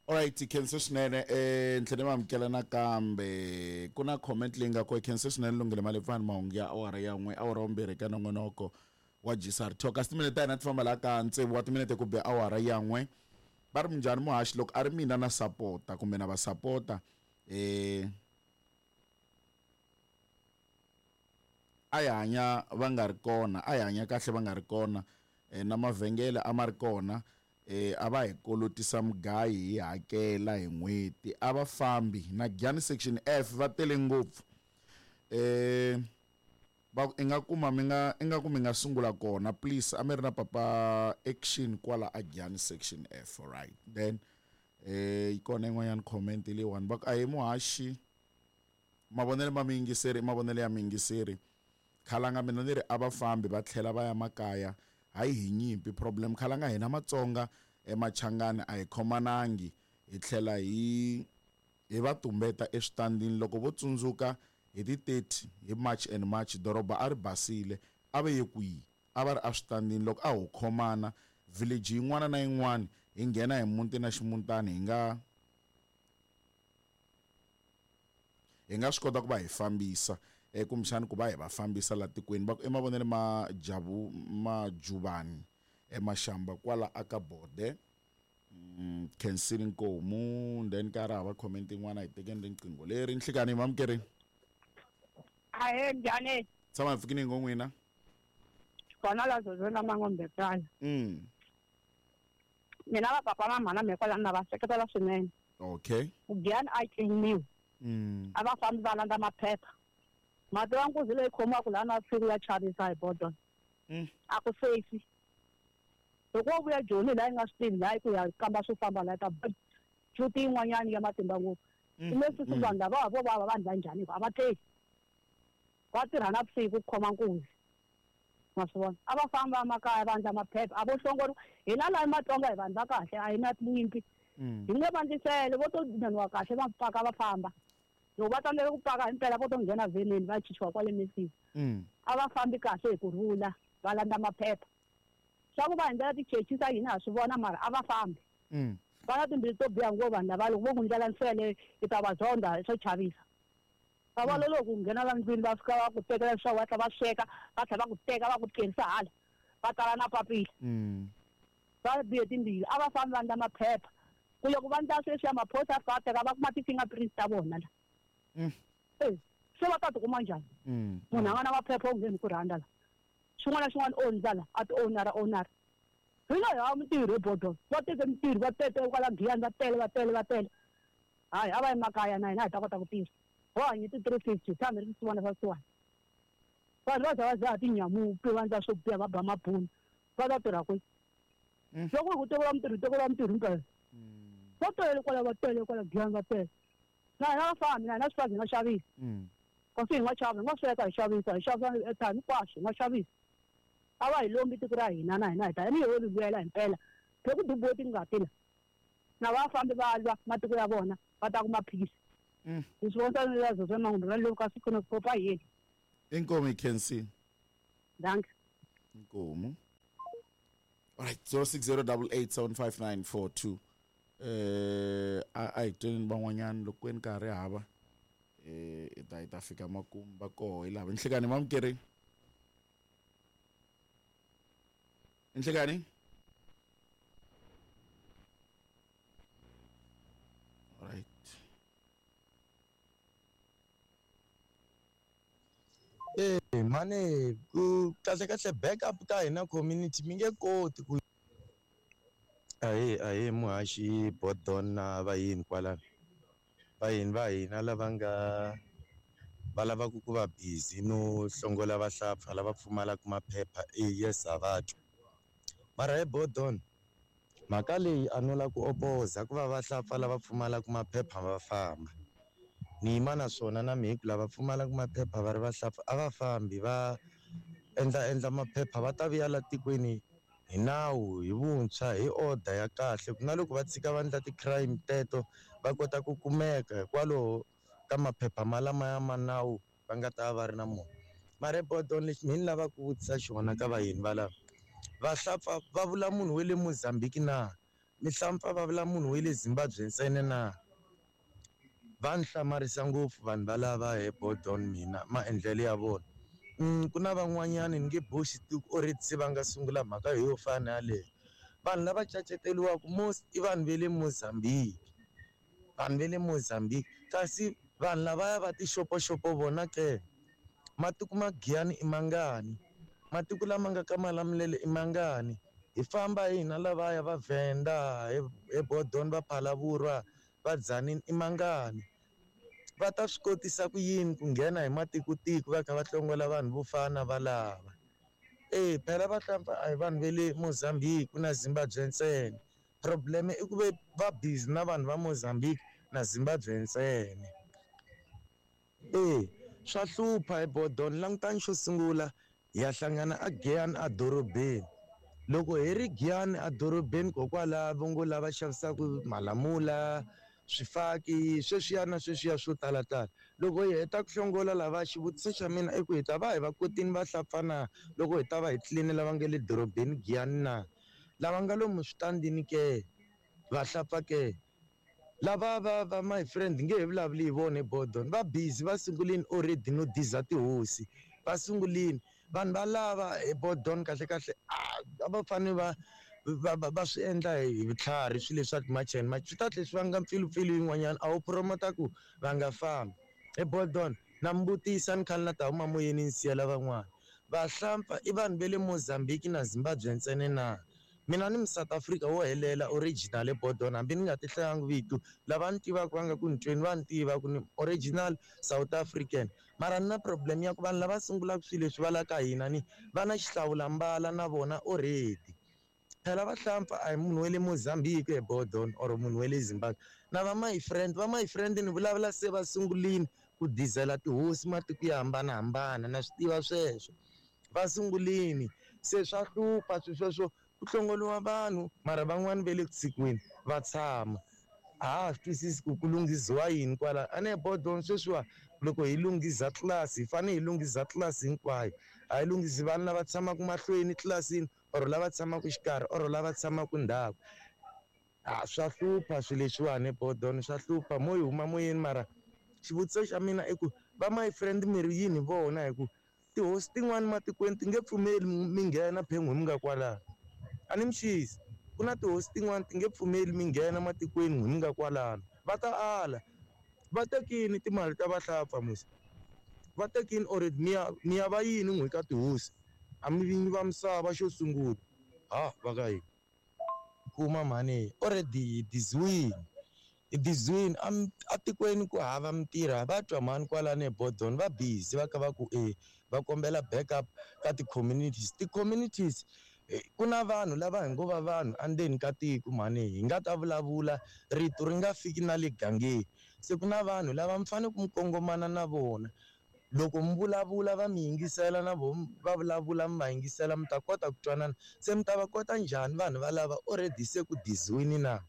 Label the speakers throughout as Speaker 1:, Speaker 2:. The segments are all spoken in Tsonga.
Speaker 1: Alright, khensa swinene eh ni tlhela ni amukela nakambe ku na comment leyi nga ko khensa swinene lunghile malepfani mahungu ya awara ya n'we awara wa ka nongonoko wa gsr talk kasi timinete ta hina ti famba laha ka tsevu wa timinete ku be awara ya n'we va ri minjhani muhaxi loko a ri mina na sapota kumbe na va sapota eh a hi hanya va nga ri kona a hi hanya kahle va nga ri kona eh, na mavhengele a ma ri kona eh, a va hi kolotisa mugayi hi hakela hi n'hweti a va fambi na Giyani section F va tele ngopfu eh va i nga kuma mi nga i nga ku mi nga sungula kona please a mi ri na papa action kwala a Giyani section F alright then eh yi kona yin'wanyana comment leyiwani va ku a hi muhaxi mavonelo ma miyingiseri i mavonelo ya miyingiseri khalanga mina ni ri a va fambi va tlhela va ya makaya hayi hi nyimpi problem khalanga hina matsonga emachangani a hi khomanangi hi tlhela hi hi va tumbeta eswitandini loko vo tsundzuka hi ti 30 hi March and March doroba a ri basile a va ye kwihi a va ri eswitandini loko a ho khomana village yin'wana na yin'wana hi nghena hi muti na ximutani hi nga hi nga swi kota ku va hi fambisa eh, kumbexani ku va hi va fambisa la tikweni va ku i mavonelo ma javu majuvani emaxamba kwala aka bode mm, khensini nkomu then ka ri hava comment yin'wana hi tekeni riqingho leri nhlikani mamukeri
Speaker 2: Ahee, njhani?
Speaker 1: Tshama hi pfukini ngo n'wina.
Speaker 2: Kona la zozo na mangombetana. Mina va papa na mhana me kwala na va seketela swinene.
Speaker 1: Okay.
Speaker 2: Giyani a yi tliniwi. A va fambi va landza maphepha. Mati wa nkuzi leyi khomiwaka laha na vusiku ya chavisa hi bodon. A ku safe. Loko wo vuya Joni laha yi nga swi tivi laha ku ya kamba swo famba laha ta cuti yin'wanyana ya matimba ngopfu. Leswi swi vanhu lava vo va vanhu va njhani a va tleli. Va tirha na vusiku ku khoma nkuzi. Ma swi vona? A va famba emakaya va endla maphepha a vo hlongoriwa. Hina laha eMatsonga hi vanhu va kahle a hi na tinyimpi. Hi nge va ndlisele vo to naniwa kahle va paka va famba. Loko va tsandzeka ku paka himpela vo to nghena veneni va chichiwa kwale mesini. A va fambi kahle hi ku rhula va landza maphepha. Swa ku va hi ndlela tichechi ta hina ha swi vona mara a va fambi. Va na timbilu to biha ngopfu vanhu lava loko vo ku ndlela nsele i ta va zonda swo chavisa. Va vona loko u nghena la ndlwini va fika va ku tekela swa va tlhela va sweka va tlhela va ku teka va ku tlerisa hala va tala na papila. Va bihe timbilu a va fambi va ndla maphepha ku loko va ndla sweswiya maphorisa ya fika va teka va kuma ti-fingerprints ta vona la. E se va ta tikuma njhani? Munhu a nga na maphepha u ngheni ku rhandza la. Xin'wana na xin'wana o ndla la a ti owner owner. Hina hi hava mintirho ebodolo va teke mintirho va tete kwala Giyani va tele va tele va tele. Hayi a va yi makaya na hina hi ta kota ku tirha. Ho hanyi ti 350 tshama hi ri swisiwana swa swisiwana. Vanhu va za va dzaha tinyamupi va ndla swo biha va ba mabunu va ta tirha kwihi? Loko hi ku tekeriwa mintirho hi tekeriwa mintirho himpela. Va tele kwala va tele kwala Giyani va tele. Na hina va fambi na hina swifazi hi nga xavisa. Kasi hi nga xava hi nga sweka hi xavisa hi xavisa airtime hinkwaswo hi nga xavisa. A va hi lombi tiko ra hina na hina hi ta ni ho ri lwela himpela. Phela ku dubiwe tingati la. Na va fambi va lwa matiko ya vona va ta kuma peace. Hi swi vona ni lazo swa mangumbe va loko kasi kuna kopa yini.
Speaker 1: Inkomu hi khensini.
Speaker 2: Dankie.
Speaker 1: Inkomu. Alright, 0608875942. Eh a hi tweni van'wanyana loko kweni ka ha ri hava eh hi ta hi ta fika makumu va koho hi lava nhlikani mamukeri. Nhlikani. Alright.
Speaker 3: E mhani ku kahle kahle backup ka hina community mi nge koti ku ahee ahee muhaxi Bodon na vayeni kwalano vayeni va hina lava nga va lavaka ku va busy no hlongola vahlampfa lava pfumalaka maphepha e yes ha va twa mara he Bodon mhaka leyi a no la ku opoza ku va vahlampfa lava pfumalaka maphepha va famba ni yima na swona na mehe ku lava pfumalaka maphepha va ri vahlampfa a va fambi va endla endla maphepha va ta vuya la tikweni hi nawu hi vuntshwa hi order ya kahle ku na loko va tshika va endla ti-crime teto va kota ku kumeka hikwalaho ka maphepha malamaya ma nawu va nga ta va ri na mona mara Bodon lexi mehe ni lavaka ku vutisa xona ka vayeni valava vahlampfa va vula munhu wa le Mozambique na Mihlampfa va vula munhu wa le Zimbabwe ntsena na? Va ni hlamarisa ngopfu vanhu valava he Bodon mina maendlelo ya vona. Ku na van'wanyani ni nge boxi tiko already se va nga sungula mhaka yo fana na yaleyo. Vanhu lava caceteriwaka most i vanhu va le Mozambique. Vanhu va le Mozambique kasi vanhu lavaya va tixopoxopo vona ke matiko ma Giyani i mangani matiko lama nga ka Malamulele i mangani hi famba hina lavaya va Venda hi Bodon va Phalaborwa va Tzaneen i mangani va ta swi kotisa ku yini ku nghena hi matikotiko va kha va hlongola vanhu vo fana va lava e phela vahlampfa a hi vanhu va le Mozambique na Zimbabwe ntsena problem i ku ve va busy na vanhu va Mozambique na Zimbabwe ntsena e swa hlupha hi Bodon langutani xo sungula hi ya hlangana a Giyani a dorobeni loko hi ri Giyani a dorobeni kokwala va ngo lava xavisaka malamula swifaki sweswiya na sweswiya swo talatala loko hi heta ku hlongola lava xivutiso xa mina i ku hi ta va hi va kotini va hlapfa na loko hi ta va hi tliline lava nga le dorobeni Giyani na lava nga lomu switandini ke va hlapfa ke lava va my friend nge he vulavuli hi vona Bodon va busy va sungulini already no diza tihosi va sungulini vanhu va lava hi Bodon kahle kahle a va fanele va swi endla hi vutlhari swilo leswa ti-march and march swi ta tlhela swi vanga mpfilumpfilu yin'wanyana a wu promota ku va nga fambi hi Bodon na mi vutisa ni khale na ta huma moyeni ni siyela van'wana vahlampfa i vanhu va le Mozambique na Zimbabwe ntsena na mina ni South Africa wo helela original Bodon hambi ni nga ti hlayanga vito lava ni tivaka va nga ku ni tweni va ni tiva ku ni original South African mara ni na problem ya ku vanhu lava sungulaka swilo leswi va la ka hina ni va na xihlawulambala na vona already phela vahlampfa a hi munhu wa le Mozambique he Bodon or munhu wa le Zimbabwe na va my friend va my friend ni vulavula se va sungulini ku dizela tihosi matiko yo hambanahambana na swi tiva sweswo va sungulini se swa hlupha swilo sweswo ku hlongoliwa vanhu mara van'wani va le ku tshikiweni va tshama a ha swi twisisi ku ku lunghiziwa yini kwala a ne Bodon sweswiwa loko hi lunghiza tlilasi hi fanele hi lunghiza tlilasi hinkwayo a hi lunghisi vanhu lava tshamaka mahlweni tlilasini or lava tshamaka xikarhi or lava tshamaka ndzhaku a swa hlupha swilo leswiwani Bodon swa hlupha mo yi huma moyeni mara xivutiso xa mina i ku va my friend mi ri yini vona hi ku tihosi tin'wani matikweni ti nge pfumeli mi nghena phengu mi nga kwalano a ni mi xisi ku na tihosi tin'wani ti nge pfumeli mi nghena matikweni n'wi mi nga kwalano va ta ala va tekini timali ta vahlapfa musi va tekini already mi ya va yini n'wi ka tihosi a mi vinyi va misava xo sungula ha va ka yini kuma mhani already hi diziwini hi diziwini atikweni ku hava mintirho va twa mhani kwalano eBodon va busy va kha va ku e va kombela backup ka ti-communities ti-communities ku na vanhu lava hi ngo va vanhu endzeni ka tiko mhani hi nga ta vulavula rito ri nga fiki na le gangeni se ku na vanhu lava mi fanele ku mi kongomana na vona loko mi vulavula va mi yingisela na vona va vulavula mi va yingisela mi ta kota ku twanana se mi ta va kota njhani vanhu valava already se ku diziwini na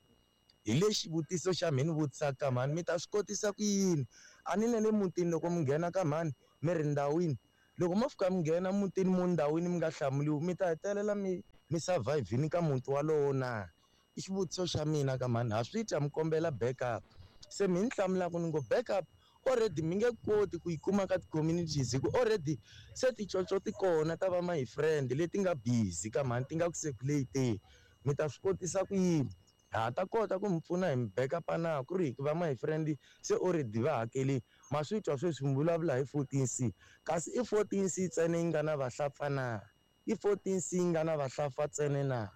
Speaker 3: hi le xivutiso xa mhani vutisaka mhani mi ta swi kotisa ku yini a ni na le mutini loko mi nghena ka mhani mi ri ndhawini loko mo fika mi nghena mutini mo ndhawini mi nga hlamuriwi mi ta hetelela mi survive-ini ka muti walowo na i xivutiso xa mina ka mhani ha swi twa mi kombela backup se mi ni hlamulaka ni ngo backup already mi nge koti ku yi kuma ka ti-communities hi ku already se ticoco ti kona ta va my friend leti nga busy ka mhani ti nga ku circulate mi ta swi kotisa ku yini ha ta kota ku mi pfuna hi mi backup na ku ri va my friend se already va hakelini ma swi twa sweswi mi vulavula hi 14C kasi i 14C ntsena yi nga na vahlapfa na i 14C yi nga na vahlapfa ntsena na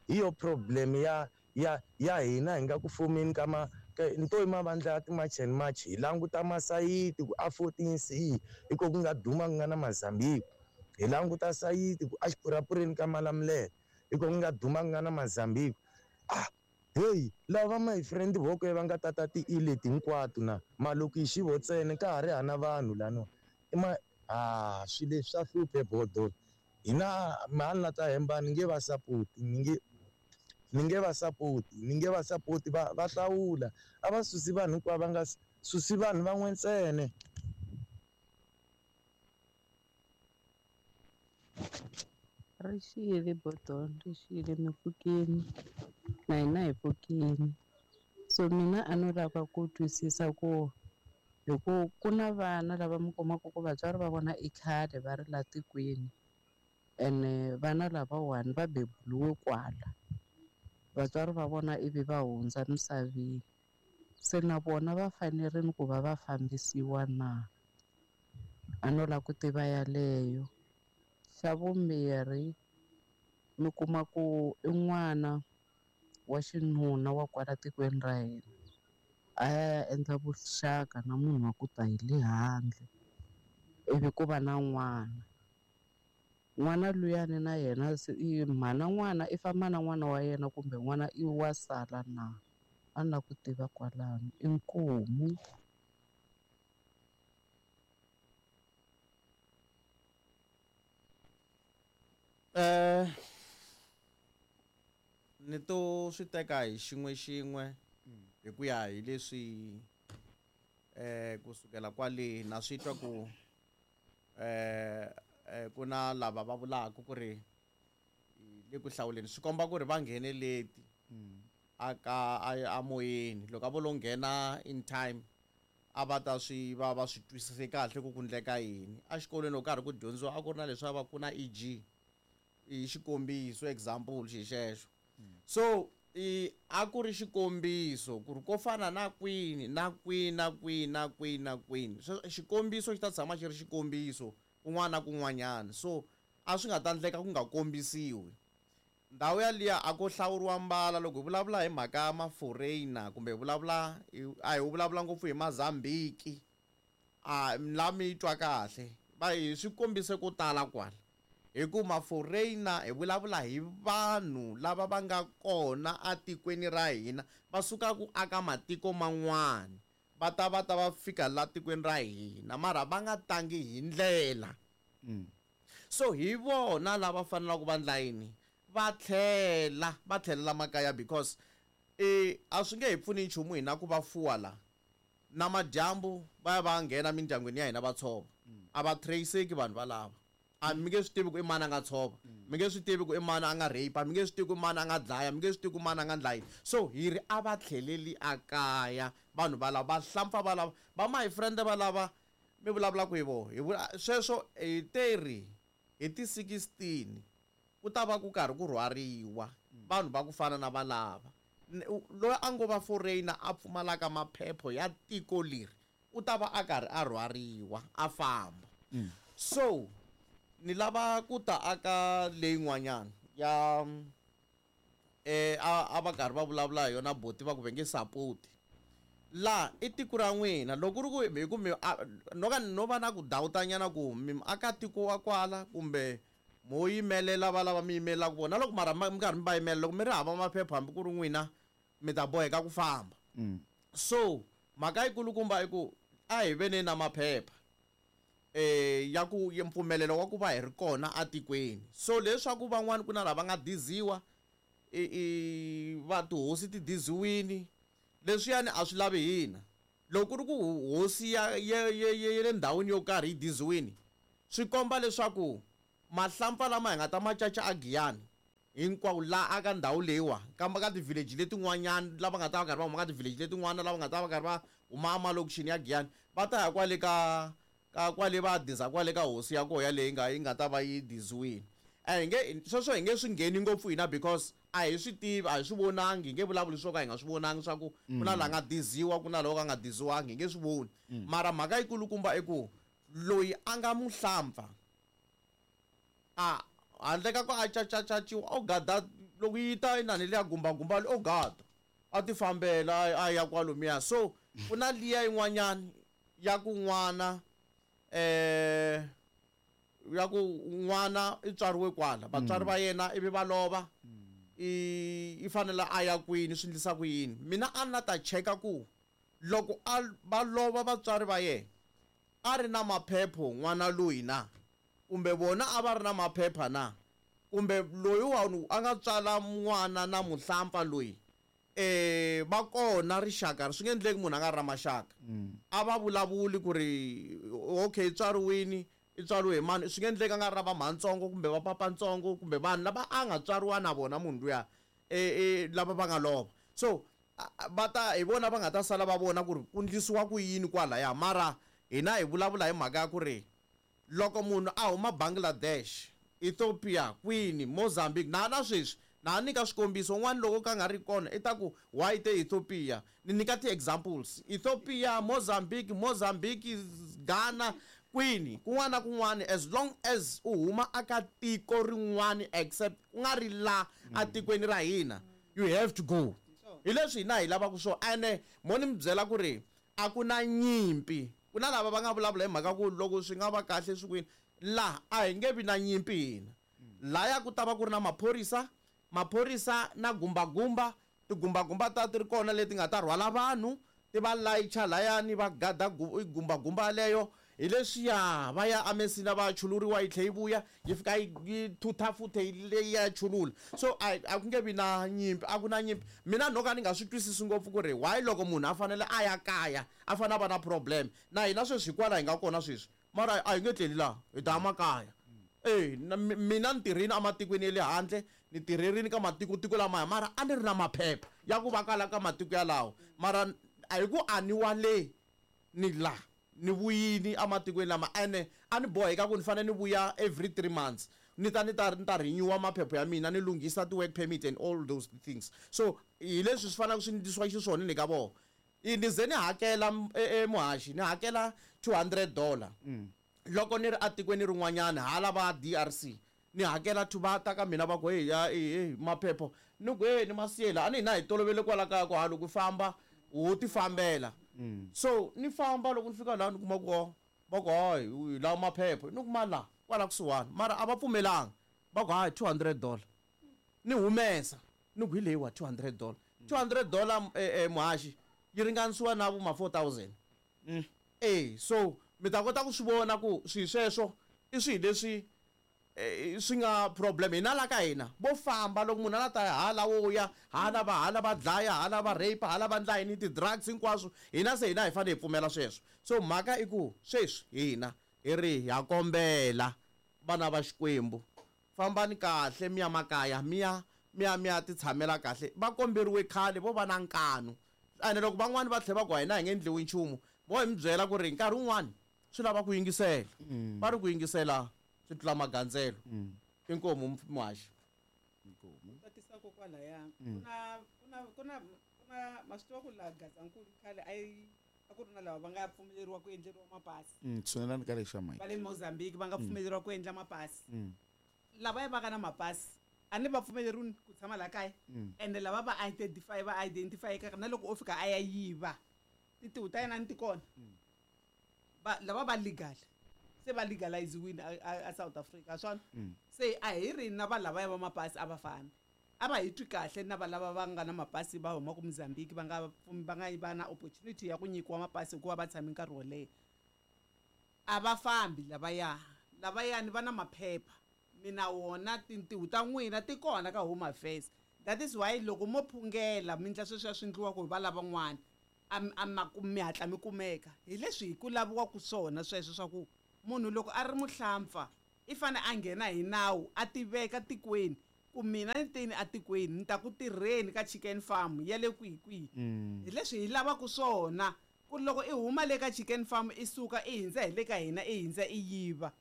Speaker 3: hi yo problem ya hina hi nga ku fumeni ka nto i mavandla ya ti-march and march hi languta masayiti ku a 14C hi ko ku nga duma ku nga na Mozambique hi languta sayiti ku a xipurapureni ka Malamulele hi ko ku nga duma ku nga na Mozambique ah hey lava my friend voko va nga tata ti-ileti hinkwato na malokixi vo ntsena ka ha ri hana vanhu lano i ma a swilo leswi swa hluphe Bodon hina mhani la ta hemba ni nge va sapoti ni nge va sapoti ni nge va sapoti va hlawula a va susi vanhu hinkwavo va nga susi vanhu van'we ntsena.
Speaker 4: Ri xile Bodon ri xile mi pfukini. Na hina hi pfukile. So mina a no lava ku twisisa ku hi ku ku na vana lava mi kumaka ku vatswari va vona i khale va ri la tikweni ene vana lavawani va beburiwe kwala vatswari va vona ivi va hundza misaveni se na vona va fanerile ku va va fambisiwa na a no lava ku tiva yaleyo xa vumbirhi mi kuma ku i n'wana wa xinuna wa kwala tikweni ra hina a ya endla vuxaka na munhu wa ku ta hi le handle ivi ku va na n'wana n'wana luyani na yena se i mhana n'wana i famba na n'wana wa yena kumbe n'wana i wa sala na a ni lava ku tiva kwalano inkomu.
Speaker 5: Ni to swi teka hi xin'we xin'we hi ku ya hi leswi kusukela kwale na swi twa ku ku na lava va vulaka ku ri le ku hlawuleni swi komba ku ri va nghene leti aka a moyeni loko a vo lo nghena in time a va ta swi va va swi twisise kahle ku ku ndleka yini exikolweni loko karhi ku dyondziwa a ku ri na leswi a va ku na EG i xikombiso example xi xexo so i a ku ri xikombiso ku ri ko fana na kwini na kwini na kwini na kwini na kwini so xikombiso xi ta tshama xi ri xikombiso kun'wana na kun'wanyana so a swi nga ta ndleka ku nga kombisiwi ndhawu yaliya a ko hlawuriwa mbala loko hi vulavula hi mhaka ya ma-foreigner kumbe hi vulavula a hi vulavula ngopfu hi Mazambiki a la mi twa kahle va hi swi kombise ko tala kwala hi ku ma-foreigner hi vulavula hi vanhu lava va nga kona atikweni ra hina va suka ku aka matiko man'wana va ta va ta va fika la tikweni ra hina mara va nga tangi hi ndlela so hi vona lava fanelaka va ndla yini va tlhela va tlhelela makaya because a swi nge hi pfuni nchumu hina ku va fuwa la na madyambu va ya va nghena mindyangwini ya hina va tshova a va trace-eki vanhu valava a mi nge swi tivi ku i mani a nga tshova mi nge swi tivi ku i mani a nga rape mi nge swi tivi ku i mani a nga dlaya mi nge swi tivi ku mani a nga ndla yini so hi ri a va tlheleli akaya vanhu valava va hlampfa valava va my friend valava mi vulavulaka hi vona hi vula sweswo hi teri hi ti 16 ku ta va ku karhi ku rhwariwa vanhu va ku fana na valava loyi a ngo va foreigner a pfumalaka maphepho ya tiko leri u ta va a karhi a rhwariwa a famba so ni lava ku ta aka leyin'wanyana ya a va karhi va vulavula hi yona boti va ku va nge support la i tiko ra n'wina loko ku ri ku hi ku mi no ka no va na ku dawutanyana ku mi aka tiko wa kwala kumbe mo yimelela va lava mi yimelelaka vona loko mara mi karhi mi va yimelela loko mi ri hava maphepha hambi ku ri n'wina mi ta boheka ku famba so mhaka yikulukumba i ku a hi veni na maphepha ya ku mpfumelelo wa ku va hi ri kona atikweni so leswaku van'wani ku na lava nga diziwa i va tihosi ti diziwini leswiyani a swi lavi hina loko ku ri ku hosi ya ya le ndhawini yo karhi yi diziwini swi komba leswaku mahlampfa lama hi nga ta ma caca a Giyani hinkwawo la aka ndhawu leyiwa kambe ka ti-village letin'wanyana lava nga ta va karhi va huma ka ti-village letin'wana lava nga ta va karhi va huma emalokixini ya Giyani va ta ya kwale ka ka kwale va diza kwale ka hosi ya koho yaleyi nga yi nga ta va yi diziwini a hi nge sweswo hi nge swi ngheni ngopfu hina because a hi swi tivi a hi swi vonangi hi nge vulavuli swo ka hi nga swi vonangi swa ku ku na la nga diziwa ku na lowo ka nga diziwangi hi nge swi voni mara mhaka yikulukumba i ku loyi a nga muhlampfa a handle ka ku a cacacaciwa o gada loko yi ta inani liya gumbagumba o gada a ti fambela a ya kwalomuya so ku na liya yin'wanyana ya ku n'wana ya ku n'wana i tswariwe kwala vatswari va yena ivi va lova i fanele a ya kwini swi endlisa ku yini mina a na ta cheka ku loko a va lova vatswari va yena a ri na maphepho n'wana loyi na kumbe vona a va ri na maphepha na kumbe loyi wa a nga tswala n'wana na muhlampfa loyi va kona rixaka swi nge endleki munhu a nga ri na maxaka a va vulavuli ku ri okay i tswariwini i tswariwe hi mani swi nge endleki a nga ri na va mhantsongo kumbe va papantsongo kumbe vanhu lava a nga tswariwa na vona munhu luya lava va nga lova. So va ta hi vona va nga ta sala va vona ku ri ku ndlisiwa ku yini kwalaya. Mara hina hi vulavula hi mhaka ya ku ri loko munhu a huma Bangladesh, Ethiopia, kwini, Mozambique, na sweswi na nyika swikombiso un'wana loko ka nga ri kona i ta ku why te Ethiopia, ni nyika ti-examples Ethiopia, Mozambique, Ghana, kwini kun'wana na kun'wana, as long as u huma aka tiko rin'wana except ku nga ri la atikweni ra hina, you have to go. Hi leswi hina hi lavaka swona. Ene mo ni mi byela ku ri a ku na nyimpi, ku na lava va nga vulavula hi mhaka ku loko swi nga va kahle swi kwini laha a hi nge vi na nyimpi hina. Laya ku ta va ku ri na maphorisa na gumbagumba, tigumbagumba ta ti ri kona leti nga ta rhwala vanhu ti va layicha layani va gada gumbagumba leyo. Hi leswiya va ya amesina va chuluriwa yi tlhe yi vuya yi fika yi thutha futhe leyi ya chulula. So a ku nge vi na nyimpi, a ku na nyimpi. Mina no ka ni nga swi twisisi ngopfu ku ri why loko munhu a fanele a ya kaya a fanele a va na problem. Na hina sweswi hikwalaho hi nga kona sweswi, mara a hi nge tleli laha, hi ta ya makaya. Mina ni tirhini ematikweni ya le handle, ni tirherini ka matiko lamaya, mara a ni ri na maphepha ya ku va kala ka matiko yalawo. Mara a hi ku a ni wa le ni la ni vuyini ematikweni lama, ene a ni boheka ku ni fanele ni vuya every 3 months ni ta renewa maphepha ya mina, ni lunghisa ti-work permit and all those things. So hi leswi swi faneleke swi ndlisiwa xiswona ni ka vona. Ni ze ni hakela muhaxi, ni hakela $200 loko ni ri atikweni rin'wanyana hala va DRC, ni hakela va ta ka mina va ku hey ya maphepha, ni ku hey ni masiyela a ni hina hi tolovele kwala kaya ku ha loko famba wo ti fambela. So ni famba loko ni fika laha ni kuma ku va ku hayi hi lava maphepha, ni kuma la kwala kusuhani, mara a va pfumelanga, va ku hayi $200. Ni humesa ni ku hi leyiwa $200. $200 muhaxi yi ringanisiwa na vo ma 4000. So mi ta kota ku swi vona ku swi sweswo i swi leswi swi nga problem. Hina la ka hina vo famba loko munhu a la ta hala wo ya hala va hala va dlaya hala va rape hala va ndla yini ti-drugs hinkwaswo, hina se hina hi fanele hi pfumela sweswo. So mhaka i ku sweswi hina hi ri ha kombela vana va Xikwembu, fambani kahle mi ya makaya, mi ya ti tshamela kahle. Va komberiwe khale vo va na nkanu, ene loko van'wani va tlhela va ku hina hi nge endliwi nchumu, vo hi mi byela ku ri nkarhi wun'wani swi lava ku yingisela, va ri ku yingisela swi tlula magandzelo. Inkomu muhaxi.
Speaker 6: Inkomu. Tatisa kokwalaya. Ku na ma swi tiva ku laha Gazankulu khale a ku ri na lava va nga pfumeleriwa ku endleriwa mapasi.
Speaker 1: Tshunelani ka lexa mike.
Speaker 6: Va le Mozambique va nga pfumeleriwa ku endla mapasi. Lava va nga na mapasi a ni va pfumeleriwi ku tshama laha kaya. Ende lava va identify va identify-eka na loko o fika a ya yiva tintiho ta yena ni ti kona. Lava va legal se va legaliziwile a South Africa swona. Se a hi ri na va lava va mapasi a va fambi, a va hi twi kahle na va lava va nga na mapasi va huma ku Mozambique va nga va na opportunity ya ku nyikiwa mapasi hikuva va tshame nkarhi wo leha. A va fambi lavayani va na maphepha, mina wona tintiho ta n'wina ti kona ka Home Affairs. That is why loko mo phungela mi ndla sweswiya swi endliwaka hi va lavan'wana a mi hatla mi kumeka. Hi leswi hi ku laviwaka swona sweswo swa ku munhu loko a ri muhlampfa i fane a nghena hi nawu a tiveka tikweni ku mina ni tini atikweni ni ta ku tirheni ka chicken farm ya le kwihi kwihi. Hi leswi hi lavaka swona ku loko i huma le ka chicken farm i suka i hindza hi le ka hina i hindza i yiva.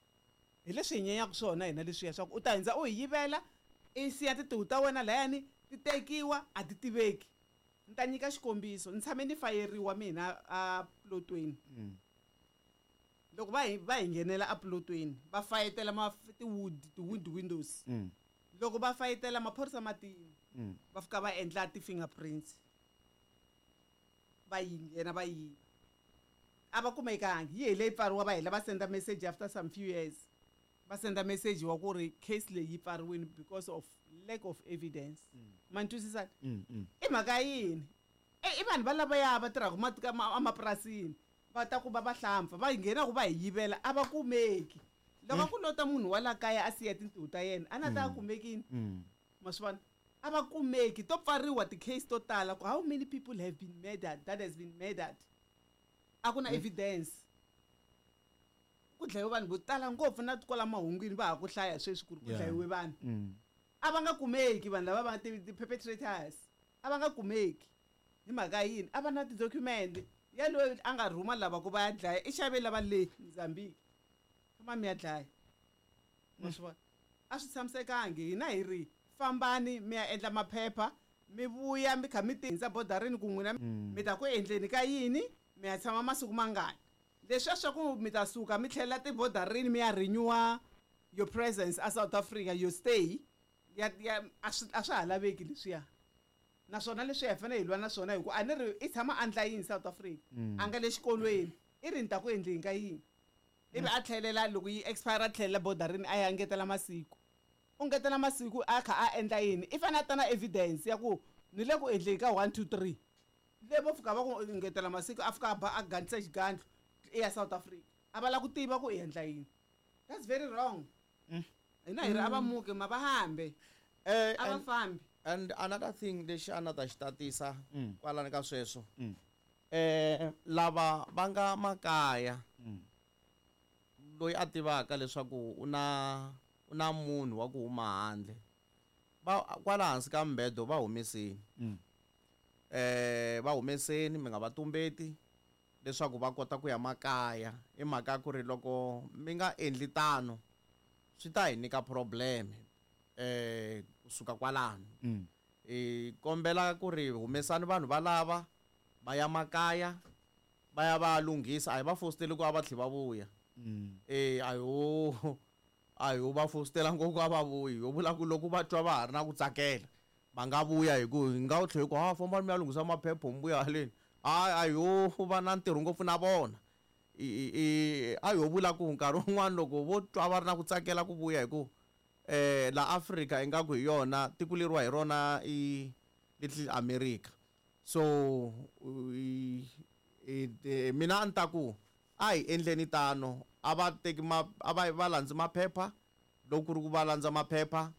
Speaker 6: Hi leswi hi nyenyaka swona hina leswiya swa ku u ta hindza u hi yivela i siya tintiho ta wena layani ti tekiwa a ti tiveki. Ni ta nyika xikombiso, ni tshame ni fayeriwa mina a plotweni. Loko va hi nghenela a plotweni va fayetela ti-wood windows. Loko va fayetela maphorisa matini va fika va endla ti-fingerprints va yi nghena va yiva. A va kumekangi, yi hele yi pfariwa va hela va senda message after some few years. Va senda message wa ku ri case leyi yi pfariwile because of lack of evidence. Ma ni twisisa? I mhaka yini? I vanhu va lavaya va tirhaka emapurasini va ta ku va va hlampfa va nghena ku va hi yivela a va kumeki. Loko ku lota munhu wa la kaya a siya tintiho ta yena a na ta kumekini. Ma swi vona? A va kumeki, to pfariwa ti-case to tala ku how many people have been murdered that has been murdered. A ku na evidence. Ku dlayiwe vanhu vo tala ngopfu na kwala mahungwini va ha ku hlaya sweswi ku ri ku dlayiwe vanhu. A va nga kumeki vanhu lava va ti-perpetrators, a va nga kumeki hi mhaka yini? A va na ti-document ya loyi a nga rhuma lava ku va ya dlaya, i xave lava le Mozambique, famba mi ya dlaya. Ma swi vona, a swi tshamisekangi. Hina hi ri fambani mi ya endla maphepha, mi vuya mi kha mi tihindza bodarini ku n'wina mi ta ku endleni ka yini, mi ya tshama masiku mangani. Leswiya swa ku mi ta suka mi tlhelela tibodarini mi ya renewa your presence a South Africa, your stay ya ya a swi a swa ha laveki leswiya. Naswona leswi hi fanele hi lwa na swona, hi ku a ni ri i tshama a ndla yini South Africa, a nga le xikolweni, i ri ni ta ku endleni ka yini, ivi a tlhelela loko yi expire, a tlhelela bodarini a ya ngetela masiku. U ngetela masiku a kha a endla yini? I fanele a ta na evidence ya ku ni le ku endleni ka 1 2 3. Le vo fika va ku ngetela masiku, a fika a ba a gandlisa xigandlo i ya South Africa, a va lava ku tiva ku i endla yini. That's very wrong. Hina hi ri a va muke, ma va hambe, a va fambi.
Speaker 5: And another thing lexi a na ta xi tatisa kwalani ka sweswo, lava va nga makaya, loyi a tivaka leswaku u na munhu wa ku huma handle, va kwala hansi ka mbedo va humeseni. Va humeseni, mi nga va tumbeti leswaku va kota ku ya makaya. I mhaka ya ku ri loko mi nga endli tano swi ta hi nyika problem kusuka kwalano. Hi kombela ku ri humesani vanhu valava va ya makaya, va ya va lunghisa. A hi va fositeli ku a va tlhe va vuya. A hi va fositela ngopfu a va vuyi. Ho vula ku loko va twa va ha ri na ku tsakela va nga vuya, hi ku hi nga tlhela hi ku ha fambani mi ya lunghisa maphepha mi vuya haleni. A hi ho va na ntirho ngopfu na vona. A hi ho vula ku nkarhi wun'wani loko vo twa va ri na ku tsakela ku vuya, hi ku la Africa ingaku hi yona tiko leriwa hi rona i Little America. So mina a ni ta ku a hi endleni tano, a va teki ma, a va va landzi maphepha. Loko ku ri ku va landza maphepha,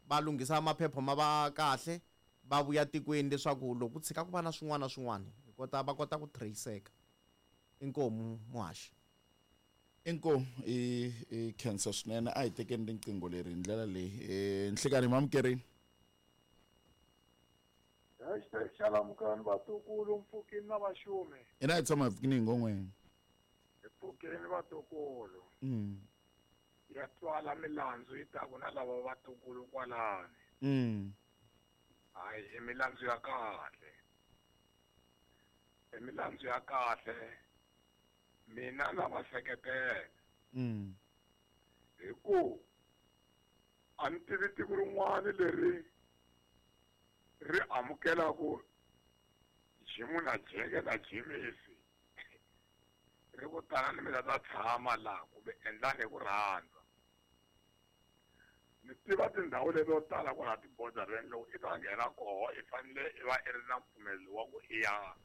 Speaker 5: va lunghisa maphepha ma va kahle, va vuya tikweni leswaku loko ku tshika ku va na swin'wana na swin'wana hi kota va kota ku traceka. Inkomu muhaxi.
Speaker 1: Inkomu i khensa swinene. A hi tekeni riqingho leri hi ndlela leyi. Nhlikani mamukerini.
Speaker 7: Hashtag xalamukani vatukulu, mpfukini na vaxumi.
Speaker 1: Ina hi tshama hi pfukini hi ngon'weni.
Speaker 7: Hi pfukini vatukulu. Ya twala milandzu yi taku na lava vatukulu kwalani. Hayi, i milandzu ya kahle. I milandzu ya kahle. Mina na va seketela. Hi ku a ni tivi tiko rin'wana leri ri amukelaku Jimu na Jeke na Jimisi ri ku tala ni mina ta tshama laha kumbe endlani hi ku rhandza. Ni tiva tindhawu leti to tala kwala tibodareni, loko i ta nghena koho i fanele i va i ri na mpfumelelo wa ku i ya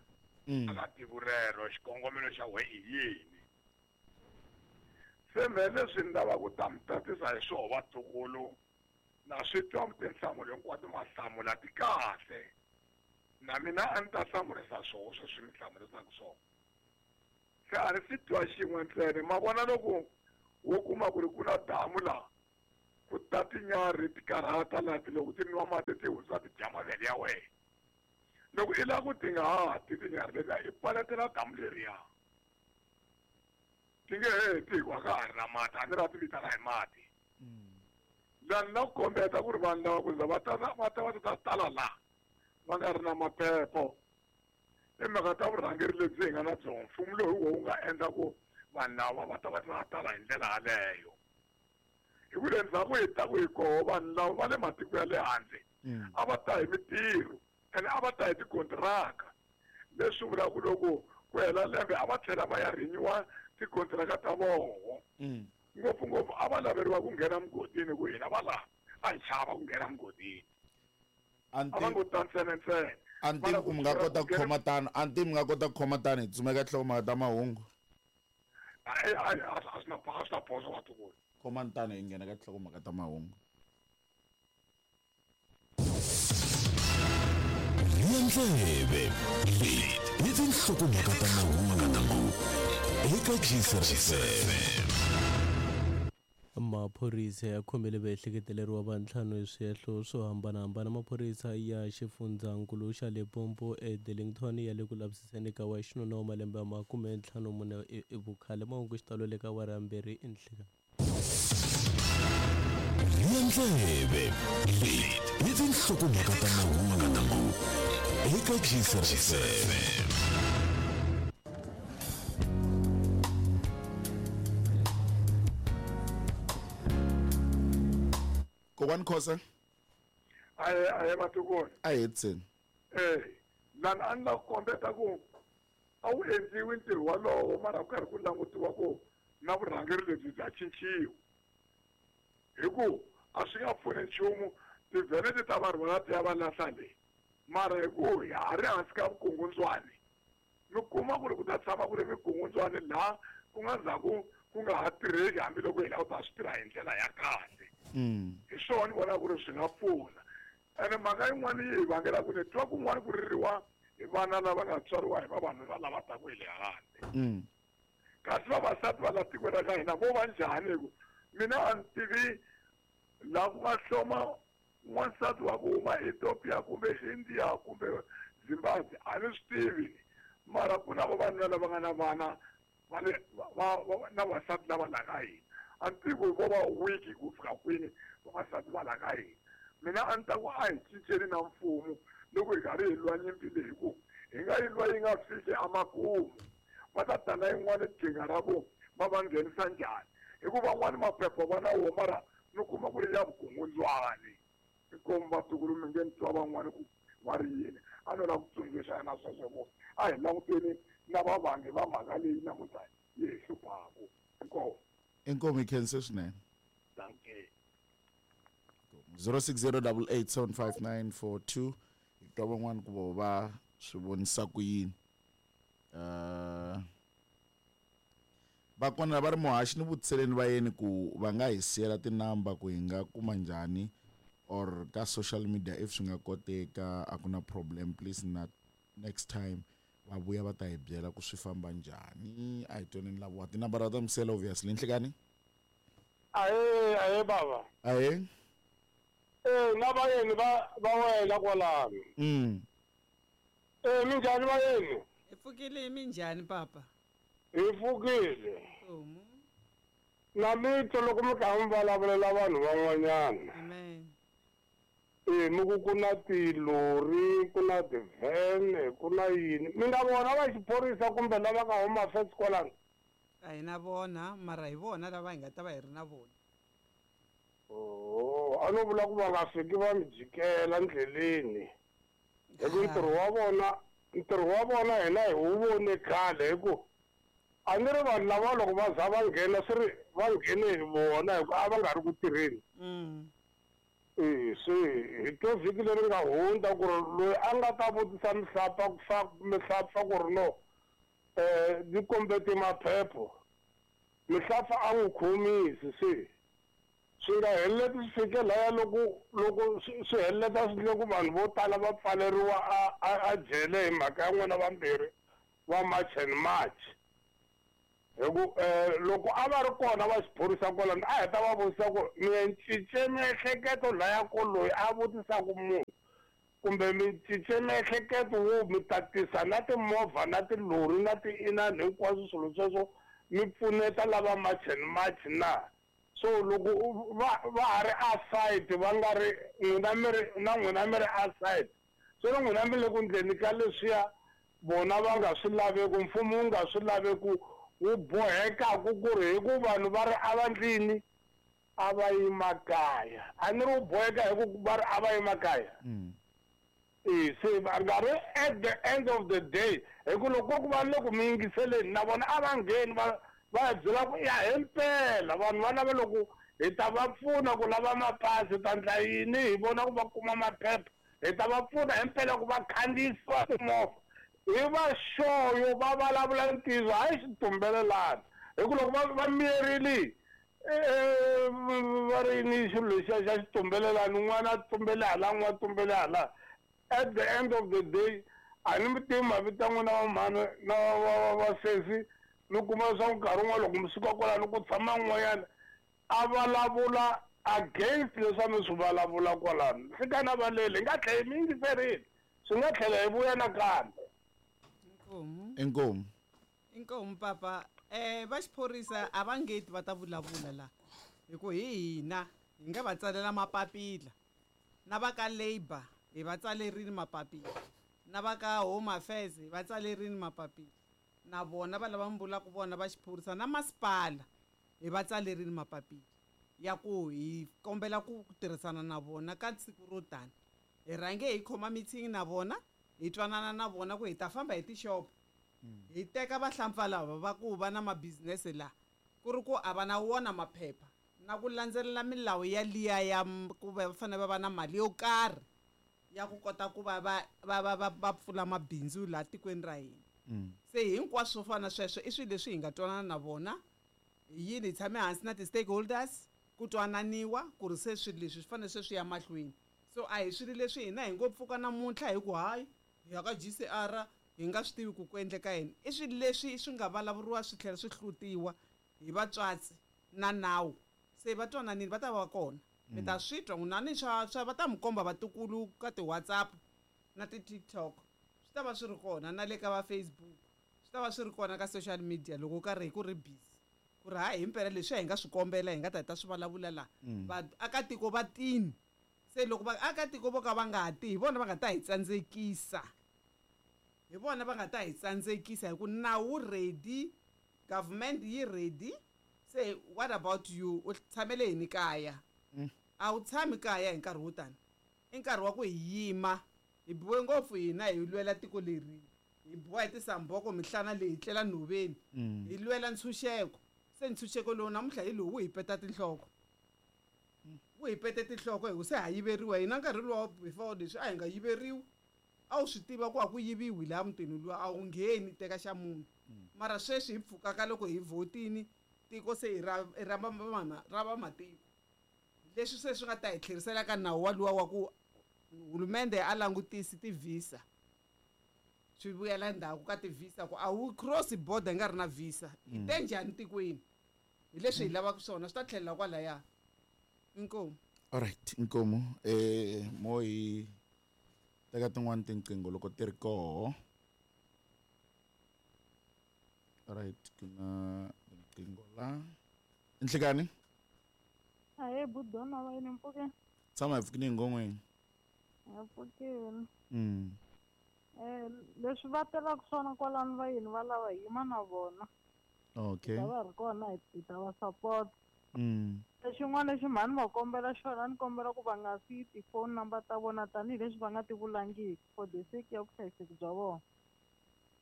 Speaker 7: aka tiko rero, xikongomelo xa wena i yini. Se me leswi ni lavaka ku ta mi tatisa hi swoho vatukulu, na swi twa tinhlamulo hinkwato ma hlamula ti kahle, na mina a ni ta hlamurisa swoho sweswi mi hlamurisaka swona. Se a ni swi twa xin'we ntsena, ma vona loko wo kuma ku ri ku na damu laha ku ta tinyarhi ti karhata laha, ti loko ti nwa mati ti hundza ti dya mavele ya wena. Loko i lava ku ti nga ha ti tinyarhi letiya, i paletela damu leriya, ti nge heti hikuva ka ha ri na mati. A ni ra ti vitana hi mati. Laha ni la ku kombeta ku ri vanhu lava ku za va ta va ta va ta tala laha va nga ri na maphepho, i mhaka ta vurhangeri lebyi hi nga na byona. Mfumo lowu hi wona wu nga endla ku vanhu lava va ta va ta tala hi ndlela yaleyo. Hi ku le ndzhaku hi ta ku hi koho vanhu lava va le matiko ya le handle a va ta hi mitirho, ene a va ta hi tikontiraka. Leswi vulaka ku loko ku hela lembe a va tlhela va ya renewa tikontiraka ta voho. Ngopfungopfu a va laveriwa ku nghena mugodini, ku hina va laha a hi chava ku nghena mugodini. A va ngo ta ntsena ntsena.
Speaker 1: A ni tivi ku mi nga kota ku khoma tano, a ni tivi mi nga kota ku khoma tano hi tsumeka nhlokomhaka ta mahungu.
Speaker 7: A swi na phoso vatukulu.
Speaker 1: Khomani tano hi nghena ka nhlokomhaka ta mahungu.
Speaker 8: Ndleve leyi i tinhlokomhaka ta mahungu eka Gcr FM.
Speaker 9: Maphorisa ya khomile vaehleketeleriwa va ntlhanu hi swihehlo swo hambanahambana. Maphorisa ya xifundzankulu xa Limpopo eDellington ya le ku lavisiseni ka wa xinuna wa malembe ya 54 i vukhale. Mahungu xitalo le ka awara ya 2 enhlekani.
Speaker 8: Rhiya ndleve leti i tinhlokomhaka ta mahungu eka Gcr FM.
Speaker 1: Kokwani Khosa.
Speaker 7: Aye aye vatukulu.
Speaker 1: A hi hetiseni.
Speaker 7: Eh, lani a ni la ku kombeta ku a wu endliwi ntirho walowo mara ku karhi ku langutiwa ku na vurhangeri lebyi bya cinciwa. Hi ku a swi nga pfuni nchumu tivhene ti ta va rhwala ti ya va lahla le. Mara hi ku ha ha ri hansi ka vukungundzwani mi kuma ku ri ku ta tshama ku ri vukungundzwani laha ku nga ndzhaku ku nga ha tirheki hambiloko hi lava ku ta swi tirha hi ndlela ya kahle. Hi swona ni vona ku ri swi nga pfuna. Ene mhaka yin'wana yi hi vangela ku ni twa kun'wana ku ririwa hi vana lava nga tswariwa hi vavanuna lava taku hi le handle. Kasi vavasati va la tikweni ra ka hina vo va njhani hi ku mina a ni tivi laha ku nga hloma n'wansati wa ku huma Ethiopia kumbe India kumbe Zimbabwe a ni swi tivi mara ku na vavanuna lava nga na vana va le va na vasati lava la ka hina a ni tivi ku vo va weak ku fika kwini vavasati va la ka hina mina a ni ta ku a hi cinceni na mfumo loko hi karhi hi lwa nyimpi leyi ku hi nga yi lwa yi nga fiki emakumu va ta tana yin'wana qhinga ra ku va va nghenisa njhani hikuva van'wani maphepha va na wo mara mi kuma ku ri ya vukungundzwani inkomu vatukulu mi nge ni twa van'wani ku va ri yini a no lava ku tsundzuxa na sweswo ku a hi languteni na vavangi va mhaka leyi namuntlha yi hi hluphaku inkomu.
Speaker 1: Inkomu hi khense swinene.
Speaker 7: Dankie.
Speaker 1: 0608875942 hi twa van'wani ku vo va swi vonisa ku yini. Va kona va ri muhaxi ni vutiseleni va yeni ku va nga hi siyela tinamba ku hi nga kuma njhani or ka social media if swi nga koteka a ku na problem please na next time va vuya va ta hi byela ku swi famba njhani. A hi twaneni lavowa tinambara ta misela obviously. Nhlekani.
Speaker 10: Ahe ahe baba.
Speaker 1: Ahe.
Speaker 10: Eh na vayeni va va wena kwalano. Eh minjhani vayeni?
Speaker 6: Hi pfukile minjhani papa?
Speaker 10: Hi pfukile. Na mito loko mi karhi mi vulavulela vanhu van'wanyana.
Speaker 6: Amen.
Speaker 10: Eh mi ku ku na tilori, ku na tivhene, ku na yini. Mi nga vona va xiphorisa kumbe lava ka Home Affairs kwalano?
Speaker 6: A hi na vona, mara hi vona lava hi nga ta va hi ri na vona.
Speaker 10: Oh, a no vula ku va nga fiki va mi jikela ndleleni. Hi ku ntirho wa vona hina hi wu vone khale hi ku a ni ri vanhu lava loko va za va nghena swi ri va nghene hi vona hi ku a va nga ri ku tirheni. Se hi twa vhiki leri nga hundza ku ri loyi a nga ta vutisa mihlapfa ku ri no ni kombete maphepho mihlapfa a n'wi khomisi se swi nga heleleti swi fike laya loko loko swi heleleta swi endle ku vanhu vo tala va pfaleriwa a jele hi mhaka ya n'wina vambirhi va March and March. Hi ku loko a va ri kona va xiphorisa kwalano a heta va vutisa ku mi cince miehleketo laya ko loyi a vutisaka munhu kumbe mi cince miehleketo wo mi tatisa na timovha na tilori na ti-inani hinkwaswo swilo sweswo mi pfuneta lava March and March na. So loko va va ha ri aside va nga ri n'wina mi ri na n'wina mi ri aside so na n'wina mi le ku ndleni ka leswiya vona va nga swi laveku mfumo wu nga swi laveku wu bohekaku ku ri hi ku vanhu va ri a va ndlini a va yi makaya a ni ri wu boheka hi ku va ri a va yi makaya. Se va nga ri at the end of the day hi ku loko ku va le ku mi yingiseleni na vona a va ngheni va va byela ku ya himpela vanhu va lava loko hi ta va pfuna ku lava mapasi ta ndla yini hi vona ku va kuma maphepha hi ta va pfuna himpela ku va khandziyisiwa timovha hi va xoyo va vulavula ntiyiso hayi xitumbelelana hi ku loko va miyerile va ri ni xilo lexiya xa xitumbelelana un'wana a tumbele hala un'wana a tumbele hala at the end of the day a ni mi tivi mavito ya n'wina va mhani na va sesi mi kuma leswaku nkarhi wun'wana loko mi suka kwalano ku tshama un'wanyana a vulavula against leswi a mi swi vulavula kwalano. Nhlikani a valeli, hi nga tlhela hi mi yingiserile, swi nga tlhela hi vuya nakambe.
Speaker 6: Inkomu.
Speaker 1: Inkomu.
Speaker 6: Inkomu papa. Va xiphorisa a va ngeti va ta vulavula la. Hi ku hi hina hi nga va tsalela mapapila. Na va ka Labour hi va tsalerile mapapila. Na va ka Home Affairs hi va tsalerile mapapila. Na vona va lava mi vulaka vona va xiphorisa na masipala hi va tsalerile mapapila ya ku hi kombela ku tirhisana na vona ka siku ro tani. Hi rhange hi khoma meeting na vona, hi twanana na vona ku hi ta famba hi tixopo. Hi teka vahlampfa lava va ku va na ma-business la, ku ri ku a va na wona maphepha na ku landzelela milawu ya liya ya ku va fanele va va na mali yo karhi ya ku kota ku va va va va va va pfula mabindzu laha tikweni ra hina. Se hinkwaswo swo fana na sweswo i swilo leswi hi nga twanana na vona. Hi yini hi tshame hansi na ti-stakeholders ku twananiwa ku ri se swilo leswi swi fanele se swi ya mahlweni. So a hi swilo leswi hina hi ngo pfuka namuntlha hi ku hayi hi ya ka GCR hi nga swi tivi ku ku endleka yini. I swilo leswi swi nga vulavuriwa swi tlhela swi hlutiwa hi vatswatsi na nawu. Se va twananile va ta va kona. Mi ta swi twa n'wina ni swa swa va ta mi komba vatukulu ka ti-WhatsApp na ti-TikTok. Swi ta va swi ri kona na le ka va Facebook. Swi ta va swi ri kona ka social media loko karhi hi ku ri busy. Ku ri hayi himpela leswi hi nga swi kombela hi nga ta hi ta swi vulavula laha. Vaakatiko va tini. Se loko vaakatiko vo ka va nga ti hi vona va nga ta hi tsandzekisa. Hi vona va nga ta hi tsandzekisa hi ku nawu ready, government yi ready. Se what about you? U tshamele yini kaya? A wu tshami kaya hi nkarhi wo tani. I nkarhi wa ku hi yima, hi biwe ngopfu hina hi lwela tiko leri. Hi biwa hi tisamboko mihlana leyi hi tlela nhoveni. Hi lwela ntshunxeko. Se ntshunxeko lowu namuntlha hi lowu wu hi peta tinhloko. Wu hi pete tinhloko hi ku se ha yiveriwa hina nkarhi luwa before leswi a hi nga yiveriwi. A wu swi tiva ku a ku yiviwi laha mutini luwa, a wu ngheni teka xa munhu. Mara sweswi hi pfukaka loko hi vhotini tiko se i ra i ra ra vamatiko. Leswi se swi nga ta hi tlherisela ka nawu wa luwa wa ku hulumende a langutisi ti-visa. Swi vuyela ndzhaku ka ti-visa ku a wu cross border hi nga ri na visa. Hi te njhani tikweni? Hi leswi hi lavaka swona swi ta tlhelela kwalaya. Inkomu.
Speaker 1: Alright, inkomu. Mo hi teka tin'wani tinqingho loko ti ri koho. Alright, ku na tinqingho la. Nhlikani?
Speaker 11: Ahee, Budona va yini mpfukeni?
Speaker 1: Tshama hi pfukini ngomweni.
Speaker 11: Hi pfukini. Leswi va telaka swona kwalano va yini va lava hi yima na vona.
Speaker 1: Okay.
Speaker 11: Ta va ri kona hi ta va support. Lexin'wana lexi mhani va kombela xona ni kombela ku va nga siyi ti-phone number ta vona tanihileswi va nga ti vulangiki for the sake ya vuhlayiseki bya vona.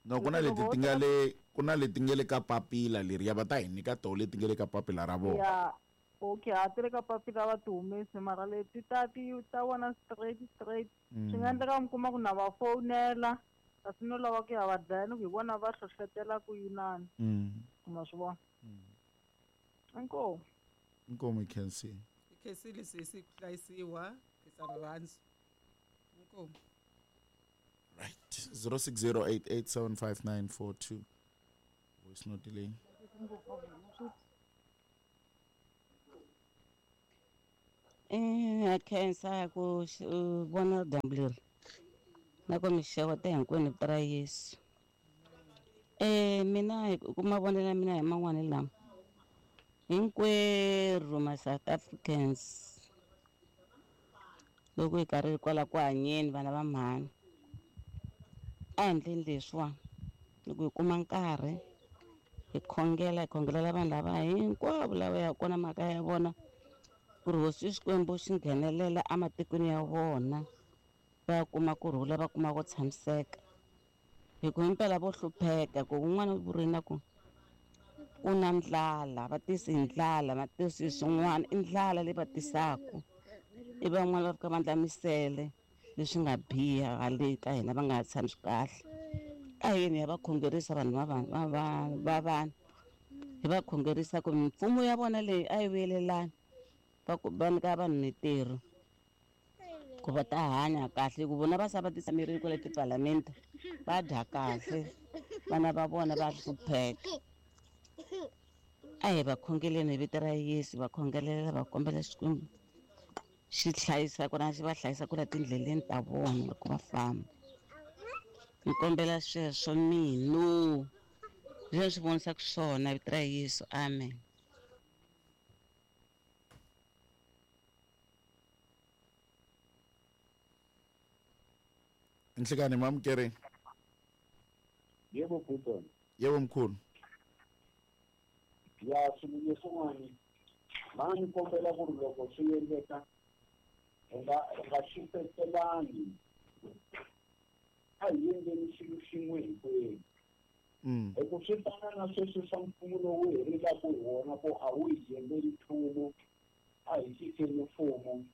Speaker 1: No, ku na leti ti nga le ku na leti nga le ka papila leriya va ta hi nyika toho leti nga le ka papila ra vona.
Speaker 11: Ya, okay, a ti le ka papila va ti humesi mara leti ta ti ta vona straight straight. Swi nga endleka mi kuma ku na va fowunela kasi no lava ku ya va dlaya ni ku hi vona va hlohlotela ku yinani. Ma swi vona? Inkomu.
Speaker 1: Inkomu hi khensile.
Speaker 6: Hi khensile sesi ku hlayisiwa, khensa rirhandzu. Inkomu.
Speaker 1: Right. 0608875942. Voice note leyi.
Speaker 4: Ha khensa ku vona dyambu leri na ku mi xeweta hinkwenu vito ra Yesu. Mina hi ku mavonelo ya mina hi man'wani lama hinkwerhu ma South Africans loko hi karhi kwala ku hanyeni vana va mhani a hi endleni leswiwani loko hi kuma nkarhi hi khongela hi khongelela vanhu lava hinkwavo lava yaka kona makaya ya vona ku ri hosi Xikwembu xi nghenelela ematikweni ya vona va kuma kurhula va kuma ku tshamiseka hi ku himpela vo hlupheka ku un'wana u vurile na ku ku na ndlala va tisi hi ndlala va tisi hi swin'wana i ndlala leyi va tisaka i van'wana va fika va endla misele leswi nga biha hale ka hina va nga ha tshami kahle a hi yini ya va khongerisa vanhu va vanhu va va va vanhu hi va khongerisa ku mimfumo ya vona leyi a yi vuyelelani va ku va nyika vanhu mintirho ku va ta hanya kahle ku vona va sava titshamerile kwale tipalamende va dya kahle vana va vona va hlupheka. A hi va khongeleni hi vito ra Yesu, va khongelela va kombela Xikwembu xi hlayisa kona xi va hlayisa kula tindleleni ta vona loko va famba. Ni kombela sweswo mino leswi ni swi vonisaka swona vito ra Yesu amen.
Speaker 1: Nhlikani mamukeri.
Speaker 12: Yebo Bhutan.
Speaker 1: Yebo mkhulu.
Speaker 12: Ya swilo leswin'wani va ni kombela ku ri loko swi endleka hi nga hi nga xupetelani a hi endleni xilo xin'we hinkwenu hi ku swi fana na sweswi swa mfumo lowu hi rilaka hi wona ku a wu hi endleli nchumu a hi cinceni mfumo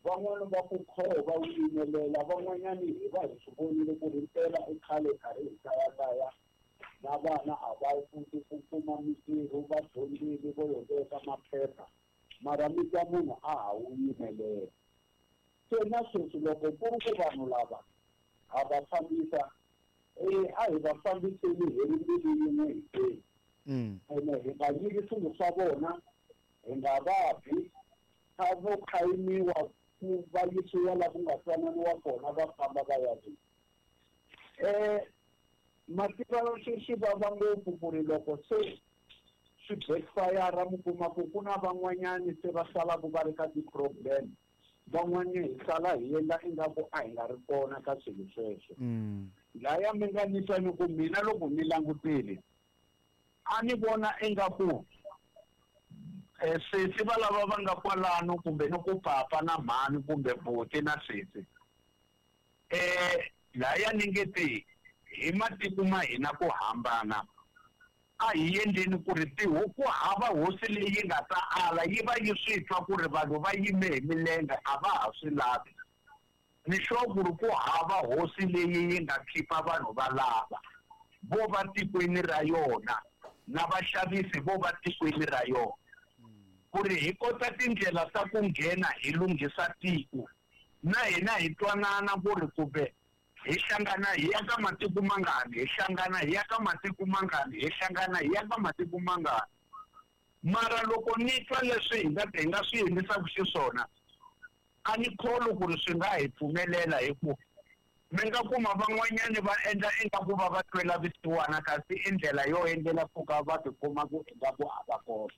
Speaker 12: van'wana va ku kho va wu yimelela van'wanyani hi va hi swi vonile ku ri mpela i khale karhi hi kayakaya na vana a va koti ku kuma mintirho va dyondzile vo yo veka maphepha mara mi twa munhu a ha wu yimelela se na sweswi loko ku ri ku vanhu lava ha va fambisa e a hi va fambiseni hi ri mbilu yin'we hinkwenu ene hi nga nyiki swilo swa vona hi nga va bi a vo khayimiwa ku va yisiwa la ku nga twananiwa kona va famba va ya le mativa swi swi vava ngopfu ku ri loko se swi backfire mi kuma ku ku na van'wanyani se va salaka va ri ka ti-problem van'wani hi sala hi endla ingaku a hi nga ri kona ka swilo sweswo laya mi nga ni twa ni ku mina loko ni langutile a ni vona ingaku sesi va lava va nga kwalano kumbe ni ku papa na mhani kumbe buti na sesi laya ni nge te hi matiko ma hina ku hambana a hi endleni ku ri tihuku hava hosi leyi nga ta ala yi va yi swi twa ku ri vanhu va yime hi milenge a va ha swi lavi ni sure ku ri ku hava hosi leyi yi nga khipa vanhu va lava vo va tikweni ra yona na vaxavisi vo va tikweni ra yona ku ri hi kota tindlela ta ku nghena hi lunghisa tiko na hina hi twanana ku ri kumbe hi hlangana hi ya ka matiko mangani hi hlangana hi ya ka matiko mangani hi hlangana hi ya ka matiko mangani mara loko ni twa leswi hi nga hi nga swi endlisaka xiswona a ni kholwi ku ri swi nga hi pfumelela hi ku mi nga kuma van'wanyani va endla ingaku va va twela vusiwana kasi i ndlela yo endlela ku ka va tikuma ku ingaku a va kona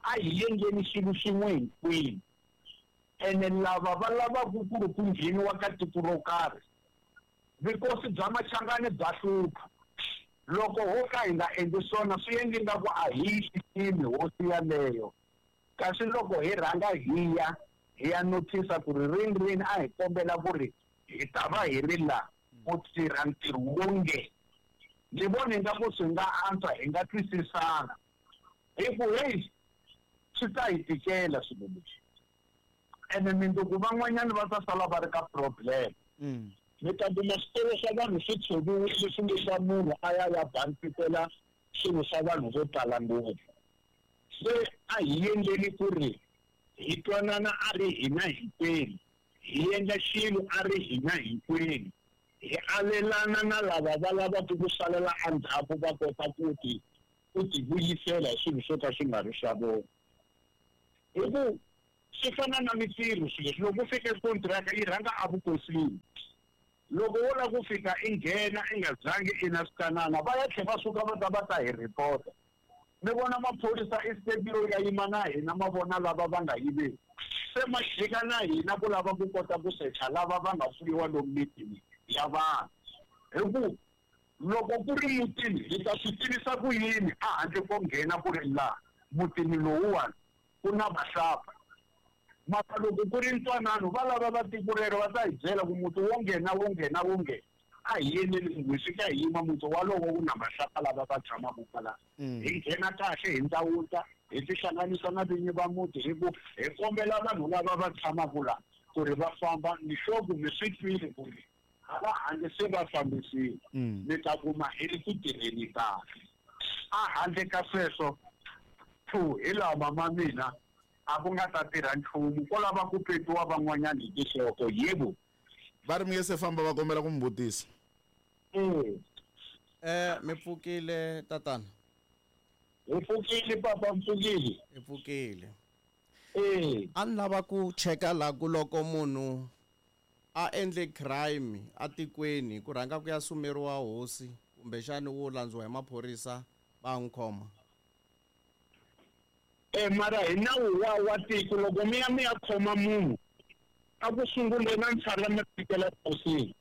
Speaker 12: a hi endleni xilo xin'we hinkwenu ene lava va lavaka ku ri ku ngheniwa ka tiko ro karhi vukosi bya Machangani bya hlupha loko ho ka hi nga endli swona swi endli nga ku a hi yi xiximi hosi yaleyo kasi loko hi rhanga hi ya hi ya notice ku ri rini rini a hi kombela ku ri hi ta va hi ri la ku tirha ntirho wonge ni vona ingaku swi nga antswa hi nga twisisana hi ku heyi swi ta hi tikela swilo leswi ene mindzuku van'wanyana va ta sala va ri ka problem mi ta kuma switolo swa vanhu swi tshoviwile swilo swa munhu a ya ya bansitela swilo swa vanhu vo tala ngopfu se a hi endleni ku ri hi twanana a ri hina hinkwenu hi endla xilo a ri hina hinkwenu hi alelana na lava va lavaka ku salela endzhaku va kota ku ti ku ti vuyisela hi swilo swo ka swi nga ri swa vona hi ku swi fana na mintirho swilo leswi loko ku fike kontiraka yi rhanga evukosini loko wo lava ku fika i nghena i nga zangi i na swikanana va ya tlhela va suka va ta va ta hi report-a mi vona maphorisa i step yo ya yima na hina ma vona lava va nga yiveki se ma jika na hina ku lava ku kota ku secha lava va nga fuyiwa lomu mitini ya vanhu hi ku loko ku ri mutini hi ta swi tivisa ku yini a handle ko nghena ku ri laha mutini lowuwani ku na vahlapfa mara loko ku ri ntwanano va lava va tiko rero va ta hi byela ku muti wo nghena wo nghena wo nghena a hi yeneni hi fika hi yima muti walowo wu na vahlapfa lava va tshamaka kwalano hi nghena kahle hi ndzawuta hi tihlanganisa na vinyi va muti hi ku hi kombela vanhu lava va tshamaka laha ku ri va famba ni sure ku mi swi twile ku ri hala handle se va fambisile mi ta kuma hi ri ku tirheni kahle a handle ka sweswo two hi laha mama mina a ku nga ta tirha nchumu ko lava ku petiwa van'wanyana hi tinhloko yebo
Speaker 1: va ri mi nge se famba va kombela ku mi vutisa
Speaker 5: Mi pfukile tatana.
Speaker 12: Hi pfukile papa, mpfukile.
Speaker 5: Hi pfukile.
Speaker 12: Eh.
Speaker 5: A ni lava ku cheka la ku loko munhu a endle crime atikweni ku rhanga ku ya sumeriwa hosi kumbexani wo landziwa hi maphorisa va n'wi khoma.
Speaker 12: Eh mara hi nawu wa wa tiko loko mi ya mi ya khoma munhu a ku sunguleni a ni tshala mi fikela hosini.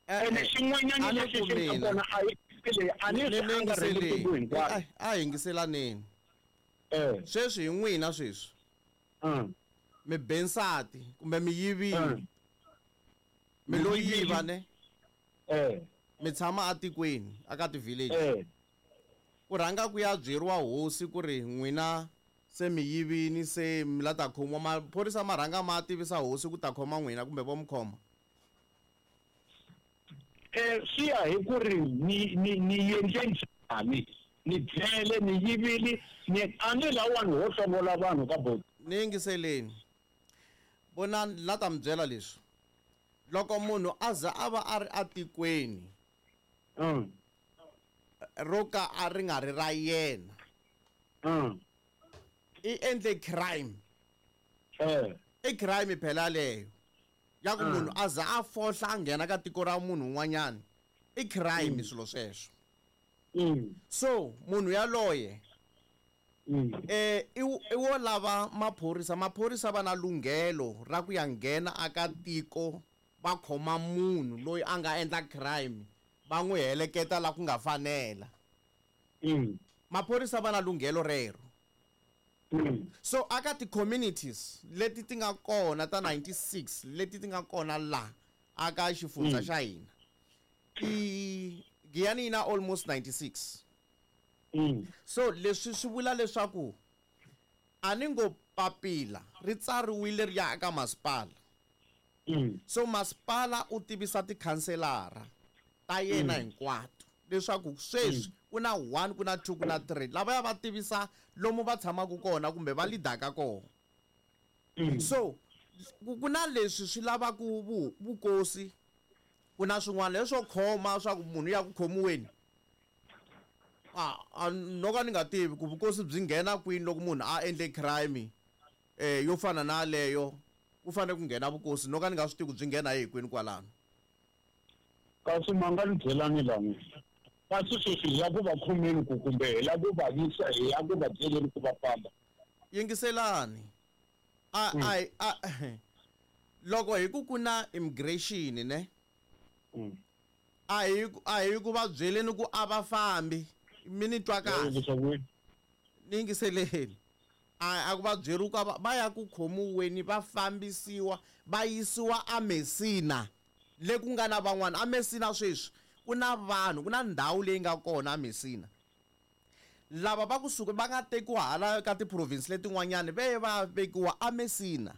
Speaker 12: Ene xin'wanyana lexi xi nga kona a yi leyi a ni swi angarheli tiko hinkwaro.
Speaker 5: A yingiselaneni.
Speaker 12: Eh.
Speaker 5: Sweswi hi n'wina sweswi. Mi be nsati kumbe mi yivile. Mi lo yiva ne?
Speaker 12: Eh.
Speaker 5: Mi tshama atikweni aka ti-village.
Speaker 12: Eh.
Speaker 5: Ku rhanga ku ya byeriwa hosi ku ri n'wina se mi yivini se mi la ta khomiwa maphorisa ma rhanga ma tivisa hosi ku ta khoma n'wina kumbe vo mi khoma.
Speaker 12: Eh swi ya hi ku ri ni ni ni endle njhani ni dlele ni yivile ni a ni lawani ho hlongola vanhu ka boti.
Speaker 5: Ni yingiseleni. Vonani la ta mi byela leswi. Loko munhu a za a va a ri atikweni ro ka a ri nga ri ra yena i endle crime. I crime phela leyo ya ku munhu a za a fohla a nghena ka tiko ra munhu un'wanyana i crime swilo sweswo. So munhu yaloye i wo lava maphorisa, maphorisa va na lunghelo ra ku ya nghena aka tiko va khoma munhu loyi a nga endla crime va n'wi heleketa la ku nga fanela. Maphorisa va na lunghelo rero. So aka ti-communities leti ti nga kona ta 96 leti ti nga kona la aka xifundza xa hina i Giyani yi na almost 96. So leswi swi vula leswaku a ni ngo papila ri tsariwile ri ya aka masipala. So masipala u tivisa tikhanselara ta yena hinkwato leswaku sweswi ku na 1 ku na 2 ku na 3 lavaya va tivisa lomu va tshamaka kona kumbe va lidaka kona. So ku na leswi swi lavaka vukosi ku na swin'wana leswo khoma swa ku munhu ya ku khomiweni a no ka ni nga tivi ku vukosi byi nghena kwini loko munhu a endle crime yo fana na leyo ku fanele ku nghena vukosi no ka ni nga swi tivi ku byi nghena hi kwini kwalano.
Speaker 12: Kasi ma nga ni byelani la n'wina kasi sweswi hi ya ku va khomeni ku kumbe hi la ku va yisa hi ya ku va byeleni ku va famba.
Speaker 5: Yingiselani. A loko hi ku ku na immigration ne a hi ku va byeleni ku a va fambi mi ni twa kahle. Ni yingiseleni. A ku va byeri ku va ya ku khomiweni va fambisiwa va yisiwa a Messina le ku nga na van'wana a Messina sweswi ku na vanhu ku na ndhawu leyi nga kona a Messina lava va kusuka va nga tekiwa hala ka ti-province letin'wanyani ve va vekiwa a Messina.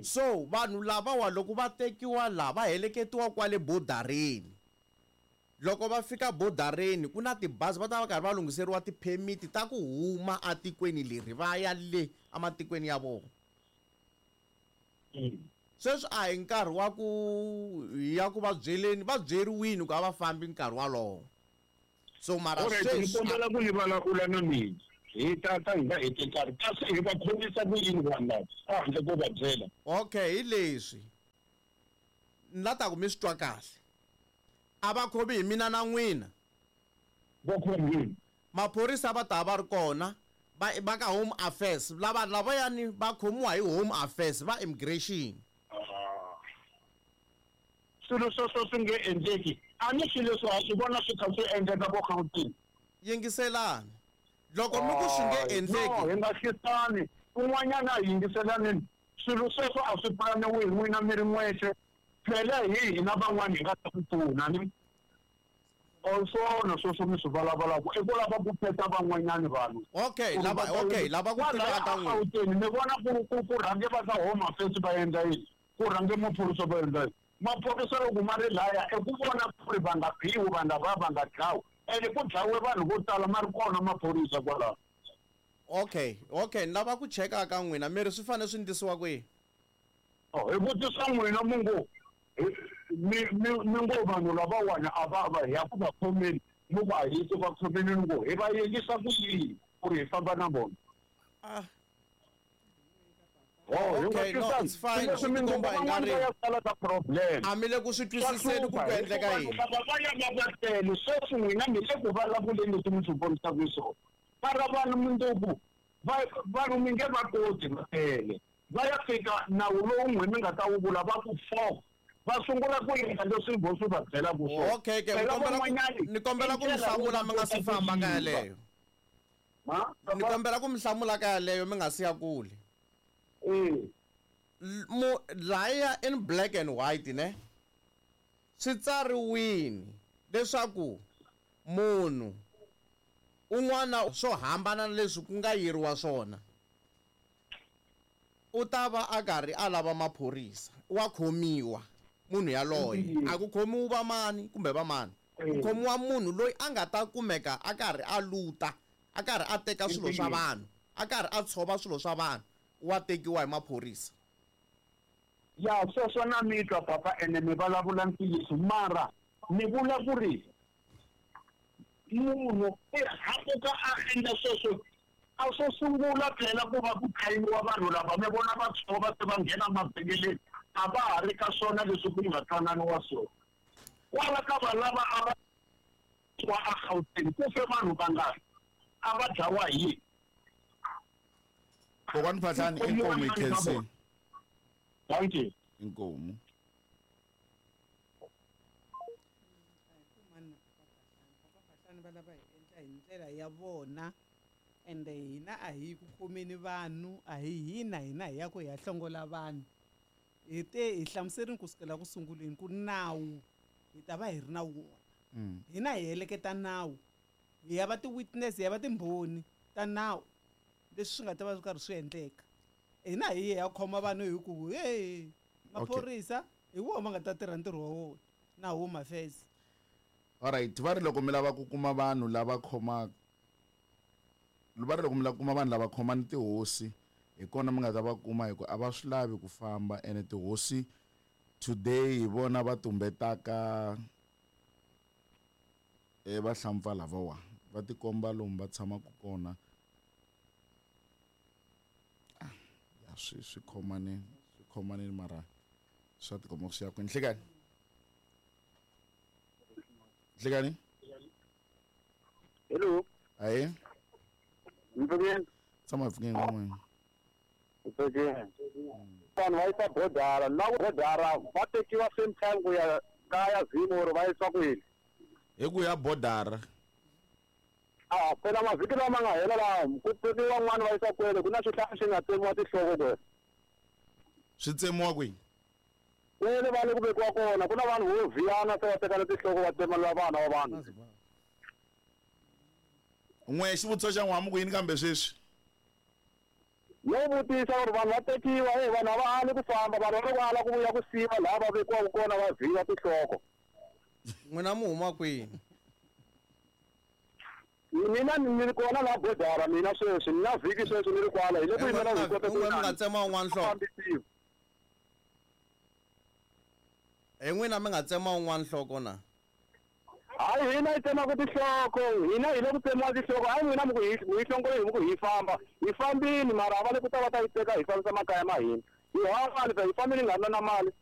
Speaker 5: So vanhu lavawa loko va tekiwa la va heleketiwa kwale bodareni. Loko va fika bodareni ku na tibazi va ta va karhi va lunghiseriwa ti-permit ta ku huma atikweni leri va ya le amatikweni ya vona. Sweswi a hi nkarhi wa ku ya ku va byeleni va byeriwini ku a va fambi nkarhi walowo. So mara sweswi
Speaker 12: ni kombela ku ni vulavula na mina hi tata hi nga heti nkarhi kasi hi va khomisa ku yini vanhu lava a handle ko va byela.
Speaker 5: Okay hi leswi ni la ta ku mi swi twa kahle. A va khomi hi mina na n'wina.
Speaker 12: Va khomi yini?
Speaker 5: Maphorisa va ta va ri kona va ka Home Affairs lava lavayani va khomiwa hi Home Affairs va immigration.
Speaker 12: Swilo sweswo swi nge endleki a ni swilo leswi ha swi vona swi kha swi endleka vo Gauteng.
Speaker 5: Yingiselani. Loko mi ku swi nge endleki.
Speaker 12: No, hi nga hlisani kun'wanyana a hi yingiselaneni swilo sweswo a swi pulaniwi hi n'wina mi ri n'wexe phela hi hina van'wani hi nga ta ku pfuna ni swona sweswo mi swi vulavulaka i ku lava ku peta van'wanyani vanhu.
Speaker 5: Okay lava okay lava ku tiva ka n'wina.
Speaker 12: Gauteng mi vona ku rhange va ka Home Affairs va endla yini ku rhange maphorisa va endla yini. Maphorisa loko ma ri laya i ku vona ku ri va nga biwi vanhu lava va nga dlawi ene ku dlawe vanhu vo tala ma ri kona maphorisa kwalaho.
Speaker 5: Okay okay ni lava ku cheka ka n'wina mi ri swi fanele swi ndlisiwa kwihi?
Speaker 12: Hi vutisa n'wina mungo mi ngo vanhu lavawani a va va hi ya ku va khomeni Mu ku a hi ku va khomeni ku hi va yengisa ku yini ku ri hi famba na vona. Oh,
Speaker 5: Okay, no, it's fine.
Speaker 12: Leswi
Speaker 5: Swi tikomba
Speaker 12: mindyangu
Speaker 5: i nga ri-
Speaker 12: van'wana va ya sala ka problem.
Speaker 5: A mi le ku swi twisiseni ku ku endleka yini.
Speaker 12: Lava va ya va va tele sweswi n'wina mi le ku vulavuleni leswi mi swi vonisaka swona. Mara vanhu mundzuku vanhu mi nge va koti va tele. Va ya fika nawu lowu n'we mi nga ta wu vula va ku 4 va sungula ku endla leswi vo swi va byelaka swona.
Speaker 5: Okay, ke ni
Speaker 12: Phela
Speaker 5: kombela ku
Speaker 12: van'wanyani
Speaker 5: ni kombela ku
Speaker 12: i
Speaker 5: mi
Speaker 12: ndlela
Speaker 5: hlamula
Speaker 12: yo
Speaker 5: mi nga si
Speaker 12: kota ku
Speaker 5: famba ka
Speaker 12: yiva.
Speaker 5: yaleyo. Ni kombela ku mi hlamula ka yaleyo mi nga si ya kule. Mu laya in black and white ne swi tsariwini leswaku munhu un'wana swo hambana na leswi ku nga yiriwa swona u ta va a karhi a lava maphorisa wa khomiwa munhu yaloye a ku khomiwi vamani kumbe vamani ku khomiwa munhu loyi a nga ta kumeka a karhi a luta a karhi a teka swilo swa vanhu a karhi a tshova swilo swa vanhu wa tekiwa hi maphorisa.
Speaker 12: Ya sweswo na mi twa papa ene mi vulavula ntiyiso mara ni vula ku ri munhu i hakuka a endla sweswo a swo sungula phela ku va ku khayiwa vanhu lava mi vona va tshova se va nghena mavhengeleni a va ha ri ka swona leswi ku nga twananiwa swona. Kwala ka vanhu lava a va wa a Gauteng ku fe vanhu vangani a va dlawa hi yini?
Speaker 1: Kokwani Phahlane inkomu hi khensile.
Speaker 12: Thank you.
Speaker 1: Inkomu.
Speaker 6: Phahlane va lava hi endla hi ndlela ya vona ende hina a hi ku khomeni vanhu a hi hina hina hi ya ku hi ya hlongola vanhu. Hi te hi hlamuserini kusukela ku sunguleni ku nawu hi ta va hi ri na wona. Hina hi heleketa nawu hi ya va ti-witness hi ya va timbhoni ta nawu leswi swi nga ta va swi karhi swi endleka. Hina hi ya khoma vanhu hi ku hey maphorisa hi wona ma nga ta tirha ntirho wa wona na Home Affairs.
Speaker 1: Alright, va ri loko mi lava ku kuma vanhu lava khomaka va ri loko mi lava ku kuma vanhu lava khomani tihosi hi kona mi nga ta va kuma hi ku a va swi lavi ku famba ene tihosi today hi vona va tumbetaka vahlampfa lavawa va tikomba lomu va tshamaka kona. Ya swi khomane swi khomane mara swa tikomba swi ya kwini. Nhlekani. Nhlekani.
Speaker 13: Hello.
Speaker 1: Aye.
Speaker 13: Mpfukeni.
Speaker 1: Tshama hi pfukeni n'wina.
Speaker 13: Mpfukeni. Vanhu va yisa bodara na bodara va tekiwa same time ku ya kaya Zim or va yisiwa kwini?
Speaker 1: Hi ku ya bodara.
Speaker 13: A phela mavhiki lama nga hela laha ku tekiwa n'wana va yisa kwele ku na swihlahla swi nga tsemiwa tinhloko kwele.
Speaker 1: Swi tsemiwa kwihi?
Speaker 13: Kwele va le ku vekiwa kona ku na vanhu vo vhiyana se va tekana tinhloko va tsemelela vana va vanhu.
Speaker 1: N'we xivutiso xa n'wamu ku yini kambe sweswi?
Speaker 13: Yo vutisa ku ri vanhu va tekiwa vanhu a va ali ku famba vanhu va ri ku ala ku vuya ku siva laha va vekiwaka kona va vhiya tinhloko.
Speaker 5: N'wina mi huma kwini?
Speaker 13: Mina ni ri kona laha bodara mina sweswi ni na vhiki sweswi ni ri kwala hi le ku yimela hi kota ku
Speaker 5: N'we mi nga tsema un'wana nhloko. Hi n'wina mi nga tsema un'wana nhloko na?
Speaker 13: Hayi hina hi tsemaka tinhloko hina hi le ku tsemiwa tinhloko hayi n'wina mi ku hi mi hlongole hi ku hi famba hi fambini mara a va le ku ta va ta yi teka hi fambisa makaya ma hina hi hava mali hi fambini hi nga ri na mali